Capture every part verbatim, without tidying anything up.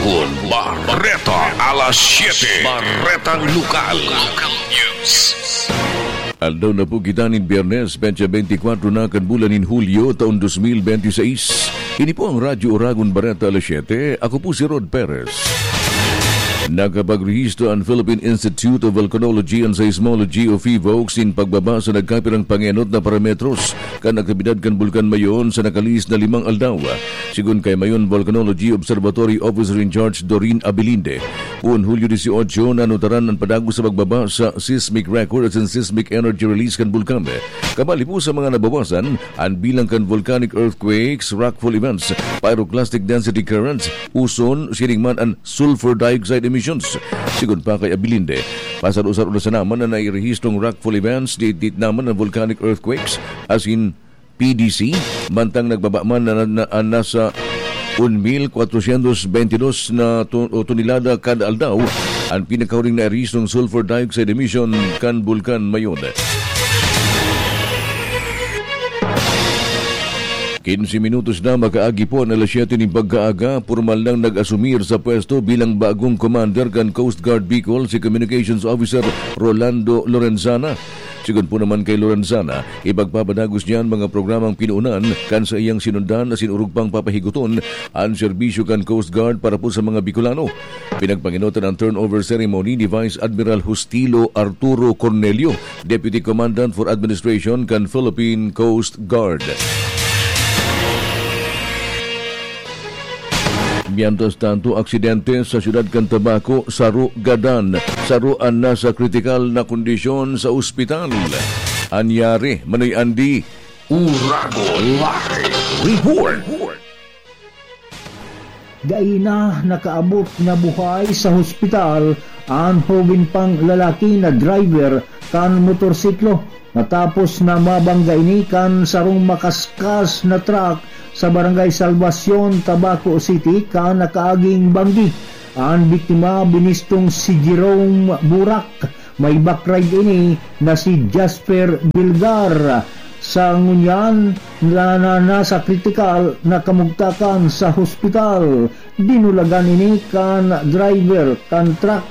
Kun Bareta alas siete, Baretang Lokal. Local News. Aldaw na po kita nin Biyernes, petsa beintikwatro na kan bulan nin Hulyo, taon dos mil benti seis. Ini po ang Radyo Oragon Bareta alas siete. Ako po si Rod Perez. Nakapagrehistro ang Philippine Institute of Volcanology and Seismology o PHIVOLCS nin pagbaba sa nagkapirang pangenot na parametros kan aktibidad kan Bulkan Mayon sa nakalihis na limang aldaw. Sigon kay Mayon Volcanology Observatory Officer in Charge Doreen Abilinde, poon Hulyo dieciocho, nanutaran an padagos sa pagbaba sa seismic record asin seismic energy release kan bulkan. Kabali po sa mga nabawasan, an bilang kan volcanic earthquakes, rockfall events, pyroclastic density currents, uson, siring man an sulfur dioxide emissions. Sigon pa kay Abilinde, pasaro-saro na sana man an nairehistrong rockfall events, diit-diit na man an volcanic earthquakes, asin P D C, mantang nagbaba man na, na, na, nasa un mil kwatrosyentos benti dos na to-, o tonelada kada aldaw an pinakahuring nairehistrong sulfur dioxide emission kan Bulkan Mayon. Quince minutos na makaagi po an alas siyete nin pagkaaga, pormal nang nag-asumir sa pwesto bilang bagong commander kan Coast Guard Bicol si Communications Officer Rolando Lorenzana. Sigon po naman kay Lorenzana, ipagpapadagos niya an mga programang pinoonan kan saiyang sinundan asin orog pang papahiguton an serbisyo kan Coast Guard para po sa mga Bicolano. Pinagpangenotan ang turnover ceremony ni Vice Admiral Justilo Arturo Cornelio, Deputy Commandant for Administration kan Philippine Coast Guard. Mientras tanto, aksidente sa siyudad kan Tabaco, saro gadan, saro an nasa kritikal na kondisyon sa ospital. Anyari, Manoy Andy. Uragon Live Report. Dai na nakaabot na buhay sa hospital an hoben pang lalaki na driver kan motorsiklo, matapos na mabangga ini kan sarong makaskas na truck sa Barangay Salvacion, Tabaco City, kan nakaaging banggi. An biktima binistong si Jerome Burak, may back ride ini na si Jasper Bilgar. Sa ngunyan na, na nasa kritikal na kamugtakan sa hospital, dinulagan ini kan driver kan truck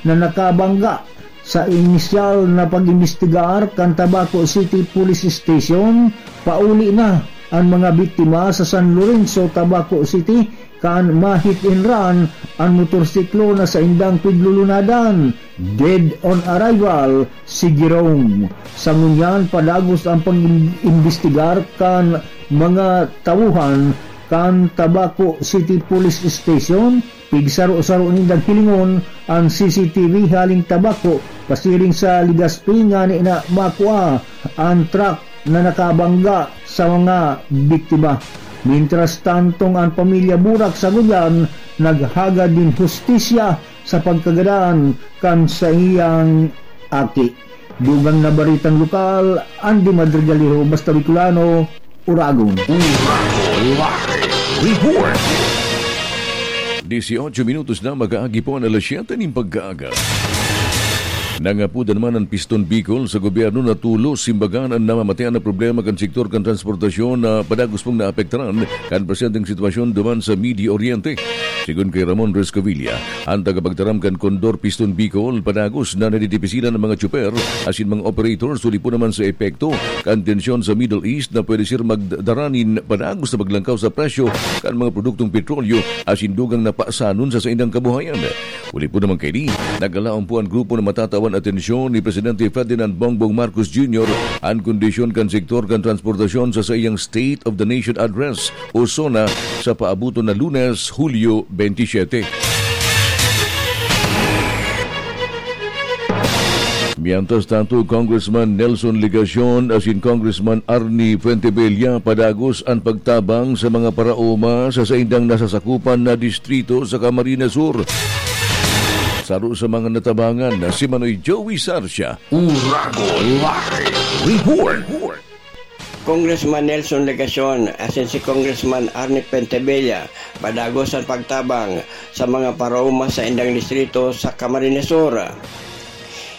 na nakabangga. Sa inisyal na pag-imbestigar kan Tabaco City Police Station, pauli na an mga biktima sa San Lorenzo, Tabaco City, kan ma-hit and run an motorsiklo na saindang piglulunadan. Dead on arrival si Jerome. Sa ngunyan, padagos ang pag-imbestigar kan mga tawhan kan Tabaco City Police Station. Pigsaro-saro nindang hilingon an C C T V halin Tabaco, pasiring sa Legazpi, ngani na makua an truck na nakabangga sa mga biktima. Mientras tantong an pamilya Burak sa Guyan naghagad nin hustisya sa pagkagadan kan saiyang aki. Dugang na baretang lokal, Andy Madrigaliho, Basta Bicolano, Uragon. Uragon Live Report. Dieciocho minutos na makaagi po an alas siyete nin pagkaaga. Nangapodan man an Piston Bicol sa gobyerno na tolos simbagan an namamatean na problema kan sektor kan transportasyon na padagos pong naapektaran kan presyenteng sitwasyon duman sa Medio Oriente. Sigon kay Ramon Rescovilla, an tagapagtaram kan Condor Piston Bicol, padagos na nadidipisilan an mga tsuper asin mga operators huli po naman sa epekto kan tensyon sa Middle East na pwede sir magdara nin padagos na paglangkaw sa presyo kan mga produktong petrolyo asin dugang na pasanon sa saindang kabuhayan. Huli po naman kaini, nagkalaon po an grupo na matatawan atensyon ni Presidente Ferdinand Bongbong Marcos Junior an kondisyon kan sektor kan transportasyon sa saiyang State of the Nation Address o SONA sa paabuton na Lunes, Hulyo twenty-seven. Mientras tanto, Congressman Nelson Legacion asin Congressman Arnie Fuentebella padagos an pagtabang sa mga paraoma sa saindang nasasakupan na distrito sa Camarines Sur. Saro sa mga natabangan na si Manoy Joey Sarcia. Uragon Live Report. Congressman Nelson Legacion asin si Congressman Arnie Pentebella padagos an pagtabang sa mga paraoma sa indang distrito sa Camarines Sur.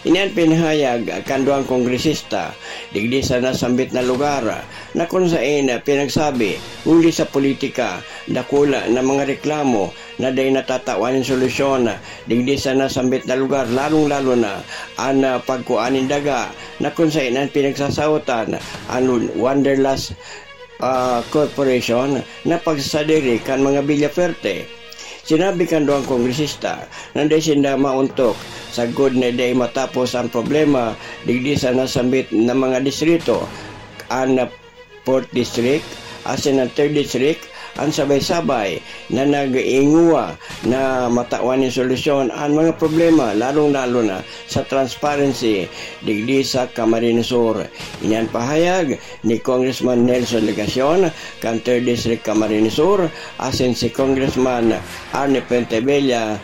Ini an pinahayag kan duwang kongresista digdi sa nasambit na lugar, na kun saen pinagsabi, huli sa politika, dakula na mga reklamo na dai natatawan nin solusyon digdi sa nasambit na lugar, lalong-lalo na an, ah, pagkua nin daga, na kun saen an pinagsasaotan an Wanderlust, ah, Corporation na pagsasadiri kan mga Villafuerte. Sinabi kan duwang kongresista na dai sinda maontok sagkod na dai matapos ang problema digdi sa nasambit na mga distrito, an Fourth District asin an Third District, an sabay-sabay na nag-iinguwa na matawan nin solusyon an mga problema, lalong-lalo na sa transparency digdi sa Camarines Sur. Ini an pahayag ni Congressman Nelson Legacion kan Third District Camarines Sur, asin si Congressman Arnie Fuentebella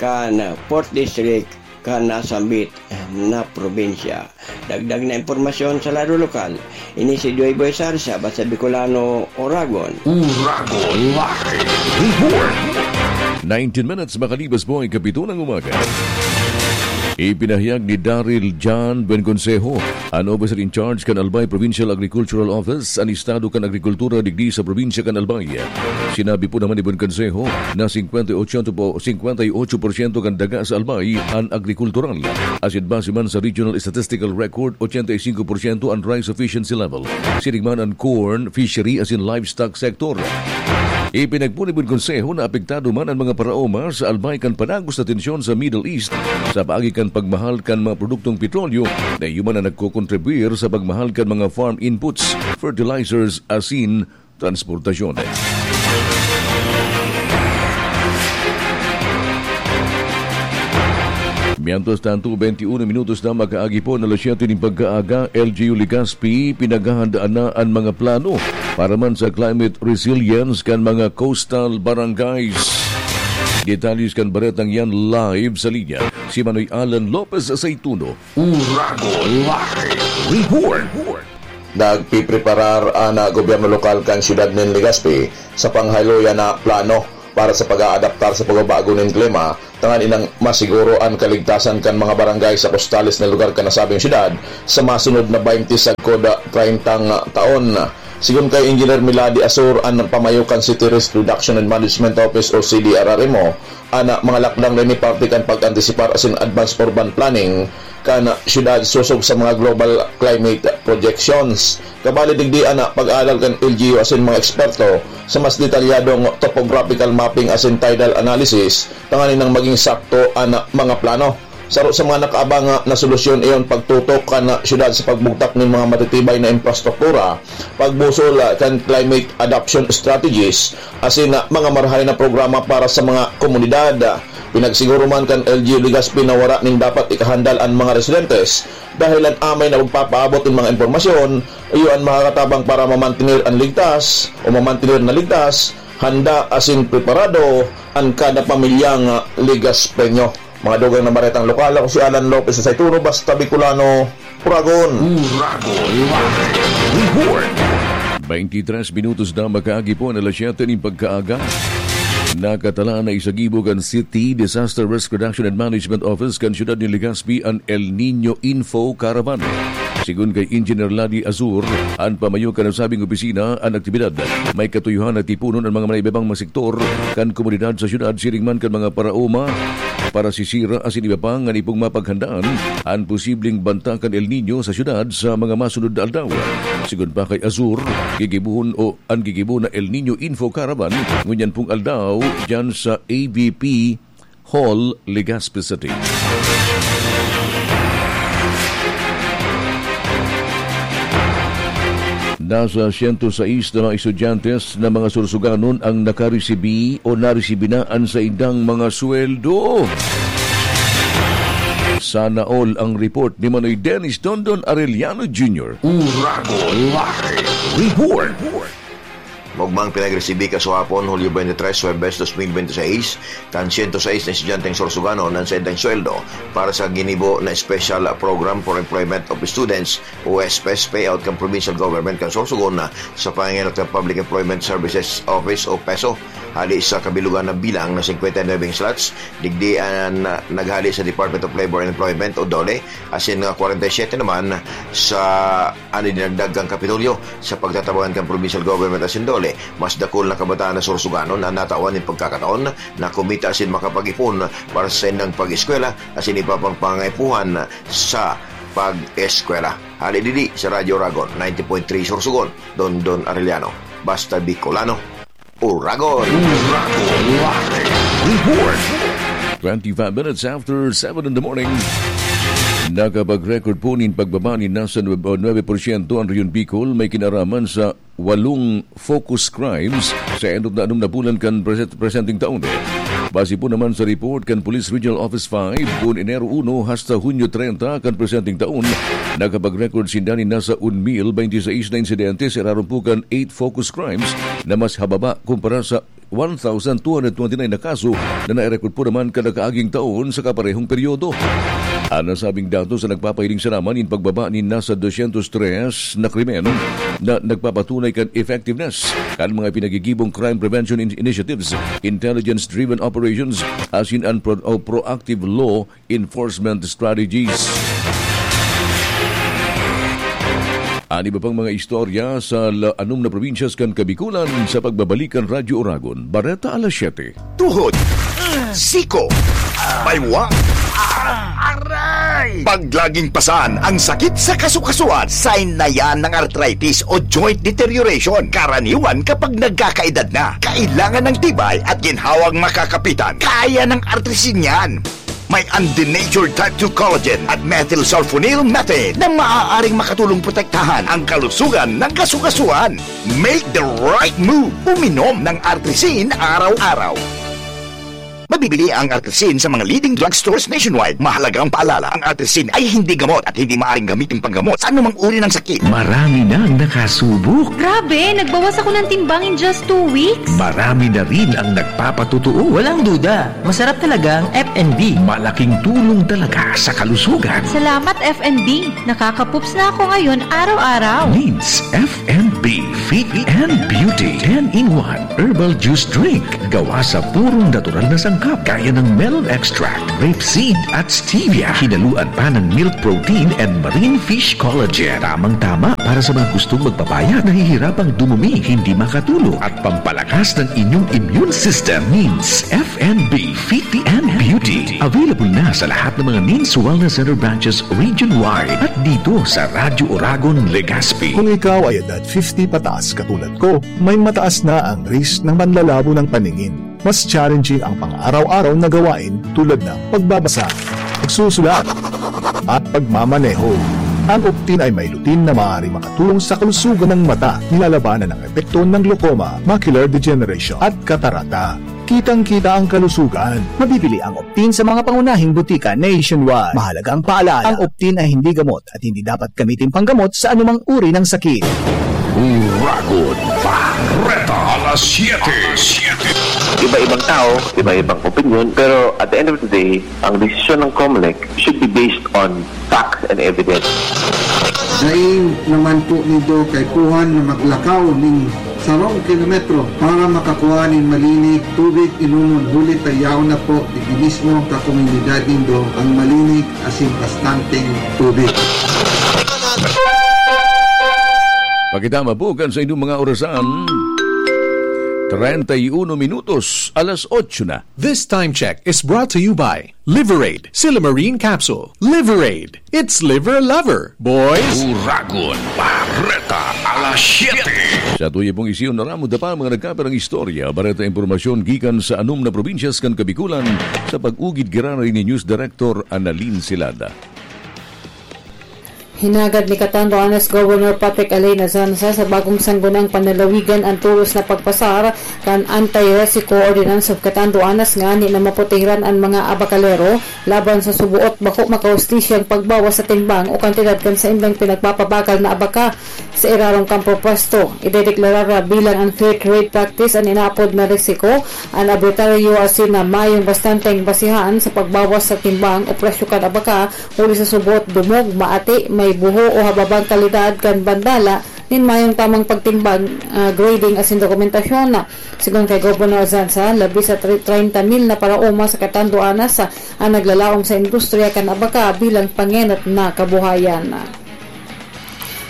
kan Fourth District kan nasambit na probinsya. Dagdag na impormasyon sa lado lokal, ini si Joy Boy Sarsa, Basta Bicolano, Oragon. Oragon Live Report. Nineteen minutes makalipas po ang ikapito ng umaga. Ipinahayag ni Daryl John Buenconsejo, an officer in charge kan Albay Provincial Agricultural Office, an estado kan agrikultura digdi sa probinsya kan Albay. Sinabi po naman ni Buenconsejo na singkwenta y ocho po, singkwenta y ocho porsyento kan daga sa Albay an agrikultural. Asin base man sa Regional Statistical Record, ochenta y cinco porsyento an rice sufficiency level. Siring man an corn, fishery asin livestock sector. Ipinagpuli po ni Buenconsejo na apektado man an mga paraoma sa Albay kan padagos na tensyon sa Middle East sa paagi kan pagmahal kan mga produktong petrolyo na iyo man ang nagkokontribuyir sa pagmahal kan mga farm inputs, fertilizers asin transportasyon. Mientras tanto, twenty-one minutos na makaagi po na alas siyete nin pagkaaga, L G U Legazpi, pinaghahandaan na an mga plano para man sa climate resilience kan mga coastal barangays. Detalles kan baretang yan live sa linya, si Manoy Alan Lopez Aceituno. Uragon Live Report. Nagpipreparar an, ah, gobyerno lokal kan siyudad nin Legazpi sa panghayloyan na plano para sa pag-aadaptar sa pagbabago nin klima, tanganing masiguro an kaligtasan kan mga barangay sa kostales na lugar kan nasabing siyudad sa masunod na baynte sagkod, ah, treyntang taon. Sigon kay Engineer Milady Asor, an pamayo kan City Risk Reduction and Management Office o C D R R M O, an mga lakdang na ini parte kan pag-antisipar asin advance urban planning kan siyudad sosog sa mga global climate projections. Kabali digdi an pag-aalal kan L G U asin mga eksperto sa mas detalyadong topographical mapping asin tidal analysis tanganing maging sakto an mga plano. Saro sa mga nakaabang na solusyon iyon pagtutok kan siyudad sa pagbugtak nin mga matitibay na infrastruktura, pagbusol kan climate adaptation strategies, asin mga marahay na programa para sa mga komunidad. Pinagsiguro man kan L G U Legazpi na wara nin dapat ikahandal an mga residentes dahel an amay na pagpapaabot nin mga impormasyon iyo an makakatabang para mamantener an ligtas o mamantener na ligtas, handa asin preparado an kada pamilyang Legazpeño. Mga dugang na baretang lokal, ako si Alan Lopez sa Saituno, Basta Bicolano, Uragon. Uragon Live Report. Twenty-tres minutos na makaagi po na alas siyete nin pagkaaga. Nakatalaan na isagibo kan City Disaster Risk Reduction and Management Office kan siyudad nin Legazpi an El Niño Info Caravan. Sigon kay Engineer Ladi Azur, an pamayo kan nasabing opisina, an aktibidad may katuyohan na tiponon an mga maiba-ibang mga sektor kan komunidad sa siyudad, siring man kan mga paraoma, parasisira asin iba pa, nganing mapaghandaan an posibleng banta kan El Niño sa siyudad sa mga masunod na aldaw. Sigon pa kay Azur, gigibohon o an gigibo na El Niño Info Caravan ngunyan pong aldaw diyan sa A V P Hall, Legazpi City. Nasa siyento sais na mga estudyante na mga sursuganon ang nakaresibi o naresibi na an saindang mga sweldo. Sana all ang report ni Manoy Dennis Dondon Arellano Junior. Uragon Live Report. Maogmang pinagresibi kasuhapon, Hulyo twenty-three, Huwebes, dos mil bente seis, kan sento sais na estudyanteng Sorsoganon an saindang sweldo para sa ginibo na Special Program for Employment of Students o S P E S payout kan Provincial Government kan Sorsogon sa pangenot kan Public Employment Services Office o peso. Hali sa kabilugan na bilang na singkwenta y nuwebe slots, digdi an, ah, naghali sa Department of Labor and Employment o DOLE, asin nga kwarenta y siyete naman sa ano dinagdag kan Kapitolyo sa pagtatabangan kan Provincial Government asin DOLE. Mas dakul na kabataan na Sorsoganon an natawan nin pagkakataon na kumita asin makapag-ipon para sa saindang pag-eskwela asin iba pang pangangaipuhan sa pag-eskwela. Hali digdi sa Radyo Oragon, ninety point three Sorsogon, Dondon Arellano. Basta Bicolano, Oragon! Oragon Live Report. Twenty-five minutes after seven in the morning. Nakapag-record po nin pagbaba nin nasa nuebe, nuebe porsyento an Rehiyon Bicol may kinaraman sa walong focus crimes sa enot na anom na bulan kan present-, presenteng taon. Base po naman sa report kan Police Regional Office five, kun Enero uno hasta Hunyo treinta kan presenteng taon, nakapag-record sinda nin nasa un mil bente seis na insidente sa irarom po kan eight focus crimes na mas hababa kumpara sa one thousand two hundred twenty-nine na kaso na nairecord po naman kan nakaaging taon sa kaparehong peryodo. An nasabing datos na nagpapahiling sana man nin pagbaba nin nasa dosyentos tres na krimen na nagpapatunay kan effectiveness kan mga pinagigibong crime prevention in-, initiatives, intelligence-driven operations, asin an pro-, o proactive law enforcement strategies. An iba pang mga istorya sa la-, anom na probinsyas kan Kabikulan sa pagbabalik kan Radyo Oragon, Bareta alas siyete. Tuhod, siko, baywa, aray! Pag laging pasan ang sakit sa kasukasuan, sign na yan ng arthritis o joint deterioration. Karaniwan kapag nagkakaedad na, kailangan ng tibay at ginhawang makakapitan. Kaya ng artrisin yan. May undenatured type two collagen at methylsulfonyl methane na maaaring makatulong protektahan ang kalusugan ng kasukasuan. Make the right move. Uminom ng Artrisin araw-araw. Mabibili ang Artrisin sa mga leading drugstores nationwide. Mahalagang paalala, ang Artrisin ay hindi gamot at hindi maaaring gamitin panggamot sa anumang uri ng sakit. Marami nang nakasubok. Grabe, nagbawas ako ng timbang in just two weeks. Marami na rin ang nagpapatotoo. Walang duda, masarap talaga ang F and B. Malaking tulong talaga sa kalusugan. Salamat, F and B. Nakakapups na ako ngayon araw-araw. Needs F and B Fit and Beauty ten-in-one Herbal Juice Drink. Gawa sa purong natural na sangkap, gaya ng melon extract, rape seed, at stevia. Hinaluan pa ng milk protein and marine fish collagen. Tamang-tama para sa mga gustong magpapayat, nahihirapang dumumi, hindi makatulog, at pampalakas ng inyong immune system. Needs F and B Fit and Beauty. Available na sa lahat ng mga Needs Wellness Center branches region-wide at dito sa Radyo Oragon, Legazpi. Kung ikaw ay edad fifty pataas katulad ko, may mataas na ang risk ng panlalabo ng paningin. Mas challenging ang pang-araw-araw na gawain tulad ng pagbabasa, pagsusulat, at pagmamaneho. Ang Optin ay may lutein na maaaring makatulong sa kalusugan ng mata, nilalabanan ang epekto ng glaucoma, macular degeneration, at katarata. Kitang-kita ang kalusugan. Mabibili ang Optin sa mga pangunahing butika nationwide. Mahalagang paalala, ang Optin ay hindi gamot at hindi dapat gamitin panggamot sa anumang uri ng sakit. Uragon Bareta, alas siyete. Iba-ibang tao, iba-ibang opinyon, pero at the end of the day, ang desisyon ng Comelec should be based on facts and evidence. Dai naman po nindo kaipuhan na maglakaw ning sarong kilometro para makakua nin malinig tubig inomon, huli ta yaon na po digdi mismo sa komunidad nindo ang malinig asin bastanteng tubig. Pakitama po kan sa inyong mga orasan. Treinta y uno minutos, alas otso na. This time check is brought to you by Liverade, Silymarin Capsule. Liverade, it's liver lover, boys! Uragon Bareta, alas siyete. Sa tuya pong isiyon na ramo, dapa mga nagkapirang istorya, bareta impormasyon gikan sa anom na probinsyas kan Kabikulan, sa pag-ugid giraray ni News Director Annalyn Silada. Hinagad ni Catanduanes Governor Patrick Alain Azanza sa bagong Sangguniang Panlalawigan an tolos na pagpasar kan Anti-Resico Ordinance of Catanduanes ngani na maprotehiran an mga abakalero laban sa suboot bako makahustisiyang pagbawas sa timbang o kantidad kan saindang pinagpapabakal na abaka sa irarong kampong pwesto. Idedeklarar bilang unfair trade practice an inaapod na resico, an arbitraryo asin na mayong bastanteng basihan sa pagbawas sa timbang o presyo kan abaka huli sa suboot dumog, maati, may buho o hababang kalidad kan bandala nin mayong tamang pagtimbang, ah, grading asin dokumentasyon. Sigon kay Governor Azanza, labi sa tri-, treinta mil na paraoma sa Catanduanes, ah, an naglalaom sa industriya kan abaka bilang pangenot na kabuhayan.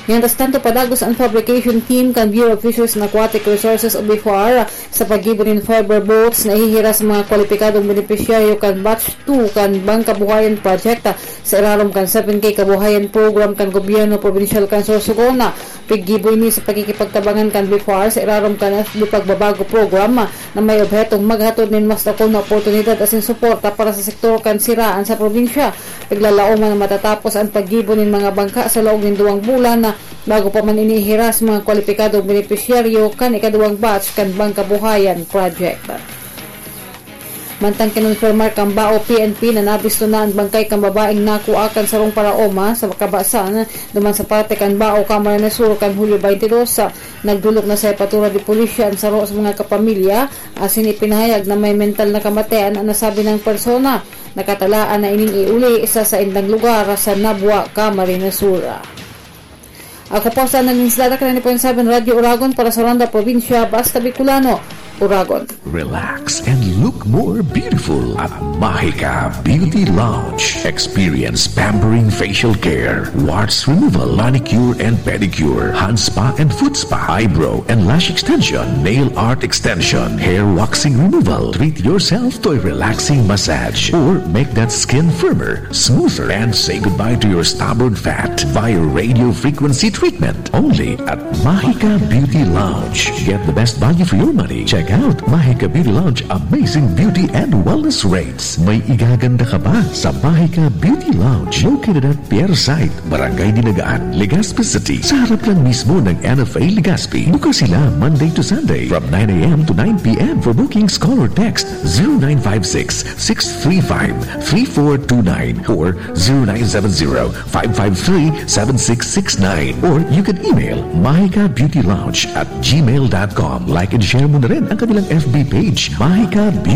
Mientras tanto, padagos an fabrication team kan Bureau of Fisheries and Aquatic Resources o BFAR sa paggibo nin fiber boats na ihihiras sa mga kwalipikadong benepisyaryo kan Batch two kan Bangkabuhayan Project, ah, sa irarom kan seven K Kabuhayan Program kan Gobyerno Probinsyal kan Sorsogon. Piggibo ini sa pakikipagtabangan kan BFAR sa irarom kan F B Pagbabago Program na may obhetong maghatod nin mas dakul na oportunidad asin suporta para sa sektor kan siraan sa probinsya. Piglalaoman na matatapos an paggibo nin mga bangka sa laog nin duwang bulan na bago pa man ini ihiras mga kwalipikadong benepisyaryo kan ikaduwang batch kan Bangkabuhayan Project. Mantang kinonfirmar kan Bao P N P na nabisto na an bangkay kan babaeng nakua kan sarong paraoma sa Kabasan, duman sa parte kan Bao, Camarines Sur, kan Hulyo twenty-two, nagdolok na sa Jefatura de Policía an saro sa mga kapamilya, asin ipinahayag na may mental na kamatayan an nasabing persona. Nakatalaan na ining iuli sa saindang lugar sa Nabua, Camarines Sur. Ako po sa Naninislada, Kalani point seven Radyo Uragon para sa Ronda Probinsya, Basta Bicolano, Uragon. Relax and look more beautiful at Mahika Beauty Lounge. Experience pampering facial care, warts removal, manicure and pedicure, hand spa and foot spa, eyebrow and lash extension, nail art extension, hair waxing removal. Treat yourself to a relaxing massage or make that skin firmer, smoother, and say goodbye to your stubborn fat via radio frequency treatment. Only at Mahika Beauty Lounge. Get the best value for your money. Check out Mahika Beauty Lounge amazing beauty and wellness rates. May igaganda ka ba sa Mahika Beauty Lounge? Located at Pier Site, Barangay Dinagaan, Legazpi City. Sa harap lang mismo ng N F A Legazpi. Bukas sila Monday to Sunday from nine a.m. to nine p.m. For bookings, call or text zero nine five six, six three five, three four two nine or zero nine seven zero, five five three, seven six six nine. Or you can email mahikabeautylounge at gmail dot com. Like and share mo na rin ang kanilang F B page, Mahika Beauty